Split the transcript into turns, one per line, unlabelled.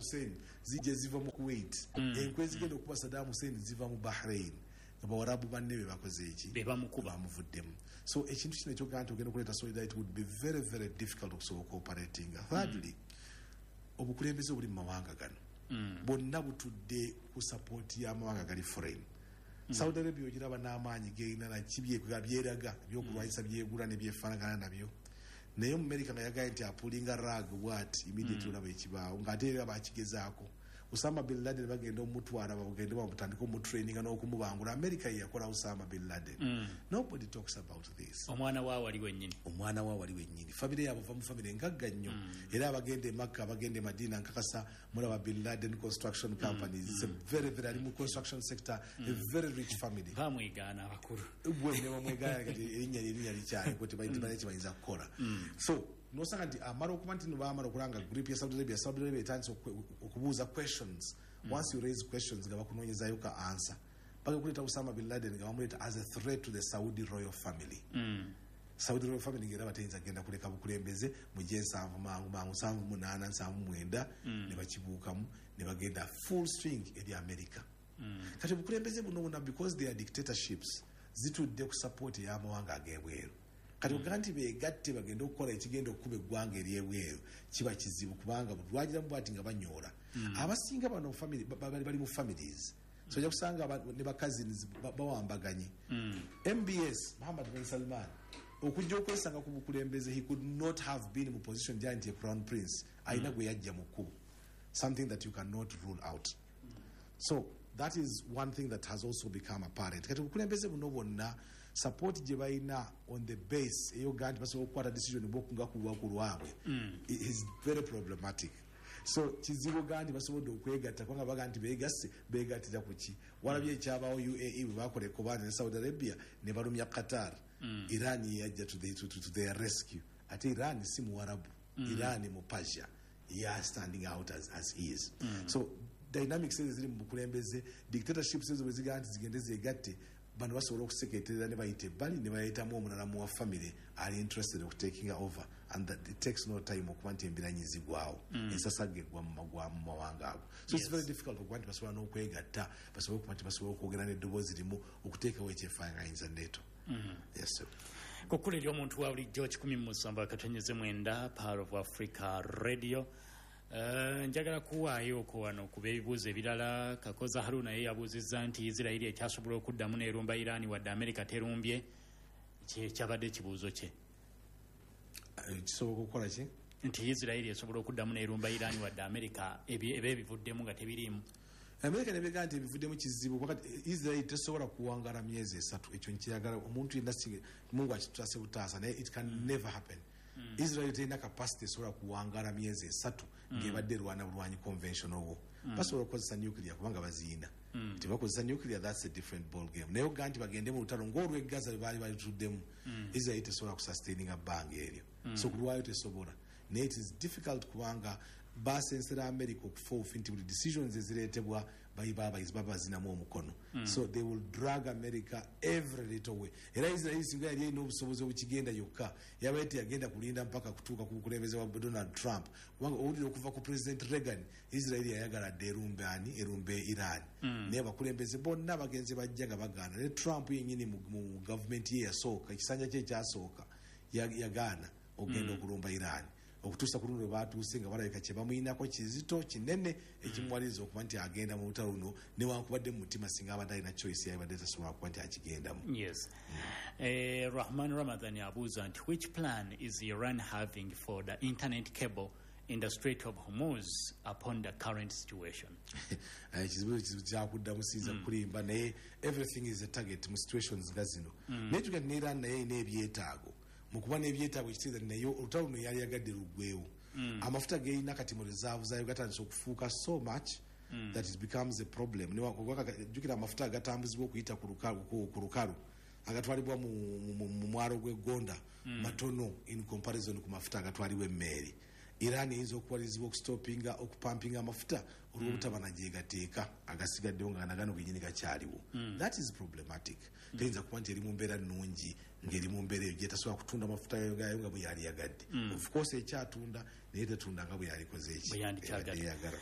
Hussein zijja ziva mu Kuwait. Enkwe ezigenda okuba Saddam Hussein ziva mu Bahrain, nga Bawarabu banne be bakoze eki?
Be bamukuba.
Bamuvuddemu. So ekintu kino ekyogaa nti ogenda okuleeta solidarity would be very, very difficult okusobola cooperatinga. Thirdly, obukulembeze obuli mu mawanga gano bwonna butudde ku support y'amawanga gali foreign. Saudi Arabia ogiraba n'amaanyi gerina naki byeraga ebyokulwanyisa byegula nebyefaanagana nabyo, naye mu America nga yagaye nti apullinga rug bwati, immediately olaba ekibaawo, ng'ate era bakigezaako. Osama bin Laden bagenda omutwala, bagende bamutandika omutraininga n'okumubangula. America ye yakola Osama bin Laden. Nobody talks about this.
Omwana wa wali wennyini.
Omwana wa wali wennyini. Famire yaabwe va mu famire ngagga nnyo, era abagenda e Makka, abagenda e Madina, nkakasa mulaba Bin Laden Construction Companies. It's a very, very, ali mu construction sector, a very rich family.
Bamwegaana abakulu.
Bwe ne bamwegaana, kati erinnya likyali tebalina kyebayinza kukola. So nosanga nti amala okuba nti no bamala okulanga group ya Saudi Arabia, Saudi Arabia etandise okubuuza questions. Once you raise questions, nga bakunoonyezayo ka answer. Bagenda kuleeta Osama bin Laden nga bamuleeta as a threat to the Saudi royal family. Saudi royal family ngaera batayinza kugenda kuleka bukulembeze mu gyensanvu mangu mangu, 78, 79, ne bakibuukamu ne bagenda full swing eri America. Kati obukulembeze buno buna, because they are dictatorships, zitudde ku support ey'amawanga ag'ebweru. Kati ogaa nti begatte bagende okukola ekigenda okukuba eggwanga eryebweru kiba kizibu, kubanga lwagiramu bwati nga banyoola. Abasinga bano family bali mu families, so ojja kusanga ne bacousins bawambaganye. MBS, Muhammad bin Salman, okujja okwesanga ku bukulembeze, he could not have been mu position gyali nti ye crown prince. Alina gwe yajja mu kkubo, something that you cannot rule out. So that is one thing that has also become apparent. Kati obukulembeze buno bwonna, support gye balina on the base eyogaa nti basobola okukwata decision bwokunga ku lwabwe is very problematic. So kizibu gaa nti basobodde okwegatta, kubanga baga nti begasse, begattira ku ki? Walabye ekyabawo UAE bwe bakola ekobanja ne Saudi Arabia ne balumya Qatar. Iran yeyajja to their rescue. Ate Iran si Muwarabu, Iran mu Persia ya standing out as is. So dynamics ezo ziri mu bukulembeze. Dictatorships ezo bwe zigamba nti zigende zegatte, bano basobola okuseketerera ne bayita ebbali ne bayitamu omulala muwa family ali interested okutakinga over, and that it takes no time okuba nti embiranyi zigwawo, ensasagga egwa mu mawanga ago. So it's very difficult okuba nti basobola n'okwegatta, basobole okuba nti basobola okwogera n'eddoboozi limu okuteekawo ekyefaananyiriza NATO. Yes, sir.
Kukkula eri omuntu wa bulijjo, 107.9 Pearl of Africa Radio. Njagala kuwaayo okwo wano kuba ebibuuzo ebirala. Kakoza Haruna ye yabuuzizza nti Isirairi ekyasobola okuddamu n'erumba Iraani wadde Amerika terumbye? Kyabadde ekibuuzo kye.
Kisoboka okukola ki?
Nti Isirairi esobola okuddamu n'erumba Iraani wadde Amerika eba ebivuddemu nga tebiriimu.
Amerika nebega nti ebivuddemu kizibu. Wakati Israel tesobola kuwangala myezi 3. Ekyo nkiyagala omuntu yenna, singa Mungu akitutase butaasa, naye it can never happen. Israel terina capacity esobola kuwangala myezi 3 ng'ebadde erwana bulwanyi conventional war. Basobola okukozesa nuclear kubanga baziina. Tebakozesa nuclear, that's a different ball game. Naye ogaa nti bagende mu lutalo ng'olw'e Gaza bwe baali balituddemu, Israel tesobola kusustaininga bbanga eryo. So kulwayo tesobola, naye it is difficult kubanga basensera America okufa obufi nti buli decisions ezireetebwa baba bazinamu omukono. So they will drag America every little way. Era Israel singa yali erina obusobozi obukigenda yokka, yabaye teyagenda kulinda mpaka kutuuka ku bukulembeze bwa Donald Trump, kubanga owulira okuva ku President Reagan, Israel yayagala dde erumbe ani? Erumbe Iran. Naye abakulembeze bonna bagenze bajja nga bagaana. Ne Trump yenyini mu gavumenti ye yasooka, ekisanja kye ekyasooka, yagaana okugenda okulumba Iran, okutuusa ku luno lwe batuuse nga balabika kye bamuyinako kizito kinene ekimuwaliriza okuba nti agenda mu lutalo luno, newankubadde mu mutima singa abadde alina choice yabadde tasobola kuba nti akigendamu.
Yes. Rahman Ramadan abuuza nti which plan is Iran having for the internet cable in the Strait of Hormuz upon the current situation?
Ekizibu kyakuddamu siyinza kulimba, naye everything is a target mu situations nga zino. Naye tuga nti ne Iran naye erina ebyetaago. Mu kuba n'ebyetaago, ekitegeeza nti naye olutalo luno yali yagadde luggwewo. Amafuta gerina kati mu reserve zaayo gatandise okufuuka so much that it becomes a problem. Jjukira amafuta agatambuzibwa okuyita ku lukalu agatwalibwa mu mwalo gw'eggonda matono in comparison ku mafuta agatwalibwa emmeeri. Iran eyinza okuwalirizibwa okustopinga okupampinga amafuta olw'obutaba na gyegateeka agasigaddewo, nga nagano genyini gakyaliwo. That is problematic. Teyinza kuba nti eri mu mbeera nnungi ng'eri mu mbeera eyo gyetasobola kutunda mafuta gayo nga bwe yali yagadde. Of course ekyatunda, naye tetunda nga bwe yalikoze eki
Bwe yandikyagadde.
Ebadde eyagala.